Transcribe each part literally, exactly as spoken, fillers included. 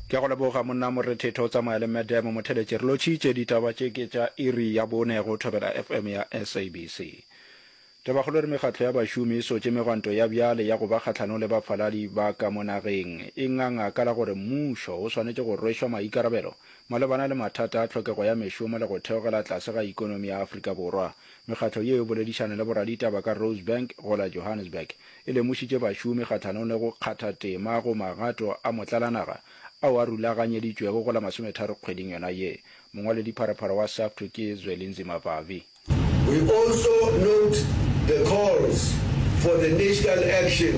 Ke a go leboga monna Morethetho o tsamaya le Madam Motheletše. Re lotšhitše ditaba tše ke tša iri ya bone go Thobela F M ya S A B C. Tabakgolo e re mekgatlo ya bašomi e sotše megwanto ya bjale ya go ba kgahlanong le bafaladi ba ka mo nageng. E nganga ka la gore mmušo o swanetše go rwešwa maikarabelo malebana le mathata a tlhokego ya mešomo le go theogela tlase ga ikonomi ya Afrika Borwa. Mekgatlo yeo e boledišane le boraditaba ka Rosebank go la Johannesburg. E lemošitše bašomi kgahlanong le go kgatha tema go magato a motlalanaga ao a rulaganyeditšwego go la masometharo kgweding yona ye. Mongwaledipharephare wa SAFTU ke Zwelinzima Vavi. We also note the calls for the national action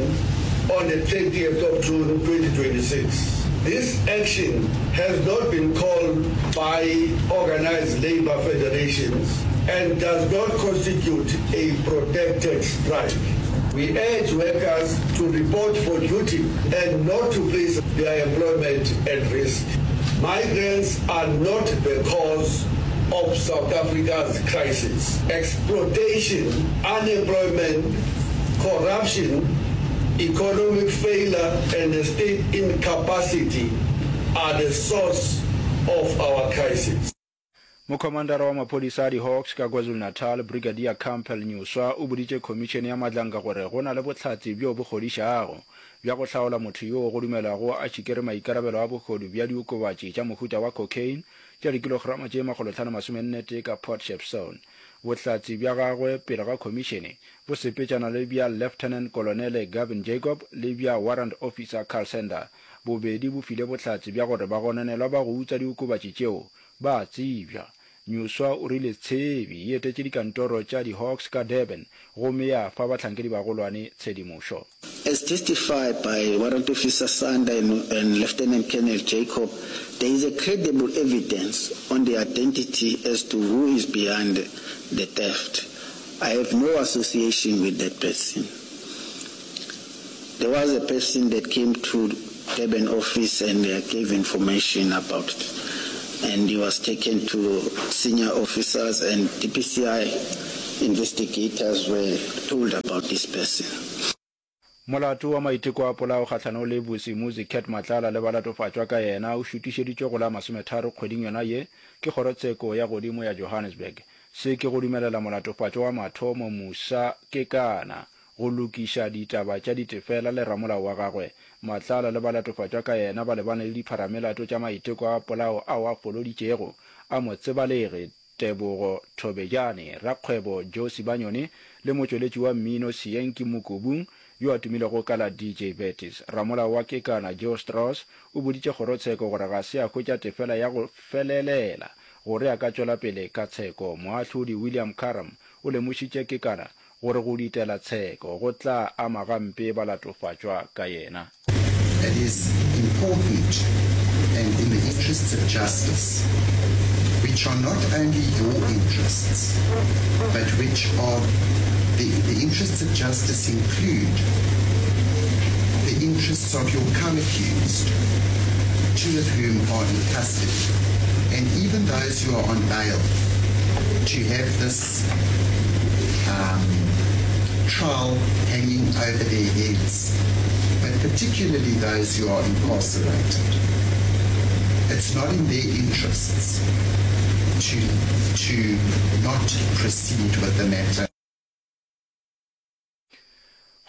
on the thirtieth of June twenty twenty-six. This action has not been called by organized labor federations and does not constitute a protected strike. We urge workers to report for duty and not to place their employment at risk. Migrants are not the cause of South Africa's crisis. Exploitation, unemployment, corruption, economic failure and the state incapacity are the source of our crisis. Mokhomandara wa maphodisa a di-Hawks ka KwaZulu-Natal, Brigadier Campbell Nyuswa o boditše Khomišene ya Madlanka gore go na le bohlatse bjo bo kgodišago bja go hlaola motho yoo go dumelwago a šikere maikarabelo a bohodu bja diokobatši tša mohuta wa cocaine tša dikilograma tše makgolohlano masomenne tee ka Port Shepstone. Bohlatse bja gagwe pele ga khomišene bo sepetšana le bja Lieutenant Kolonele Gavin Jacob le bja Warrant Officer Carl Sender. Bobedi bo file bohlatse bja gore bagononelwa ba go utswa diokobatši tšeo ba a tsebja. Nyuswa o rile tshebi e etetše dikantoro tša di-Hawks ka Durban gomme ya fa bahlankedi-bagolwane tshedimošo. As testified by Warrant Officer Sander and, and Lieutenant Colonel Jacob, there is a credible evidence on the identity as to who is behind the theft. I have no association with that person. There was a person that came to Durban office and uh, gave information about it. And he was taken to senior officers, and D P C I investigators were told about this person. Molato wa maiteko a polao kgahlanong le Vusimuzi Cat Matlala le balatofatšwa ka yena o šutišeditšwe go la masometharo kgweding yona ye ke kgorotsheko ya godimo ya Johannesburg. Se ke go dumelela molatofatšwa wa mathomo Musa Kekana go lokiša ditaba tša ditefela le ramolao wa gagwe. Matlala le balatofatšwa ka yena ba lebane le dipharamelato tša maiteko a polao ao a foloditšego a motsebalegi Tebogo Thobejane, rakgwebo Joe Sibanyoni le motšweletši wa mmino Seenki Mokubung yo a tumilego ka la D J Betis. Ramolao wa Kekana Joe Strauss o boditše kgorotsheko gore ga se a hwetša tefela ya go felelela gore a ka tšwela pele ka tsheko. Moahlodi William Karam o lemošitše Kekana gore go ditela tsheko go tla ama gampe balatofatšwa ka yena. It is important and in the interests of justice, which are not only your interests, but which are the, the interests of justice include the interests of your co-accused, two of whom are in custody, and even those who are on bail, to have this um, trial hanging over their heads, but particularly those who are incarcerated. It's not in their interests to, to not proceed with the matter.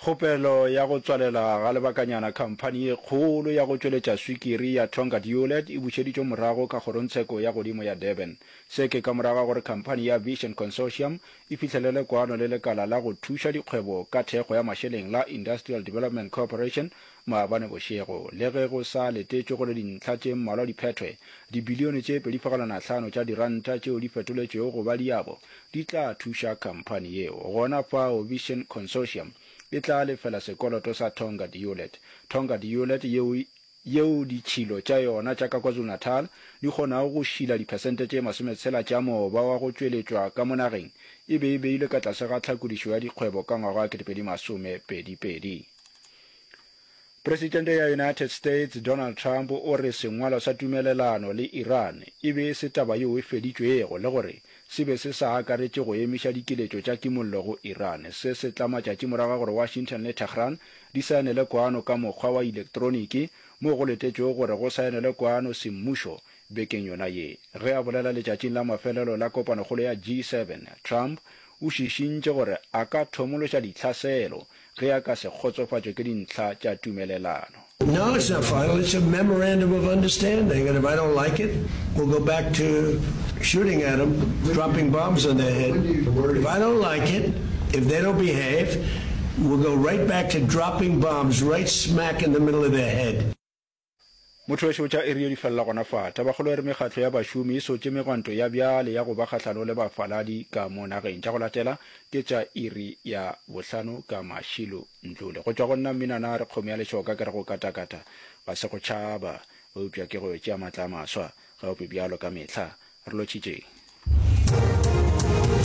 Kgopelo ya go tswalela ga lebakanyana khamphani ye kgolo ya go tšweletša swikiri ya Tongaat Hulett e bušeditšwe morago ka kgorongtsheko ya godimo ya Durban. Se ke ka morago ga gore khamphani ya Vision Consortium e fihlelele kwano le lekala la go thuša dikgwebo ka thekgo ya mašeleng la Industrial Development Corporation maabane bošego. Le ge go sa letetšwe gore dintlha tše mmalwa di phethwe, dibilione tše pedi fegelwana hlano tša diranta tšeo di fetoletšwego go ba diabo di tla thuša khamphani yeo. Gona fao Vision Consortium e tla lefela sekoloto sa Tongaat Hulett. Tongaat Hulett yeo yeo ditšhilo tša yona tša ka KwaZulu-Natal di kgonago go šila diphesente tše masometshela tša moba wa go tšweletšwa ka mo nageng e be e beilwe ka tlase ga tlhakodišo ya dikgwebo ka ngwaga wa ketepedi masomepedi pedi. Presidente ya United States Donald Trump o re sengwalo sa tumelelano le Iran e be e se taba yeo e feditšwego le gore se be se sa akaretše go emiša dikiletšo tša kimollo go Iran. Se se tla matšatši morago ga gore Washington le Tehran di saenele kwano ka mokgwa wa elektroniki, moo go letetšwego gore go saenelwe kwano semmušo bekeng yona ye. Ge a bolela letšatšing la mafelelo la kopanokgolo ya G seven, Trump o šišintše gore a ka thomološa ditlhaselo ge a ka se kgotsofatšwe ke dintlha tša tumelelano. No, it's not final. It's a memorandum of understanding. And if I don't like it, we'll go back to shooting at them, dropping bombs on their head. If I don't like it, if they don't behave, we'll go right back to dropping bombs right smack in the middle of their head. Motho wešo tša iri ye di felela gona fa. Tabakgolo e re mekgatlo ya bašomi e sotše megwanto ya bjale ya go ba kgahlano le bafaladi ka mo nageng. Tša go latela ke tša iri ya bohlano ka Mashilo Ntlole. Go tšwa go nna Mminana re kgomo ya lešoka ke re go katakata ga se go tšhaba eupša ke go yo tšea matla a maswa. Ga ope bjalo ka mehla. Re lotšhitšeng.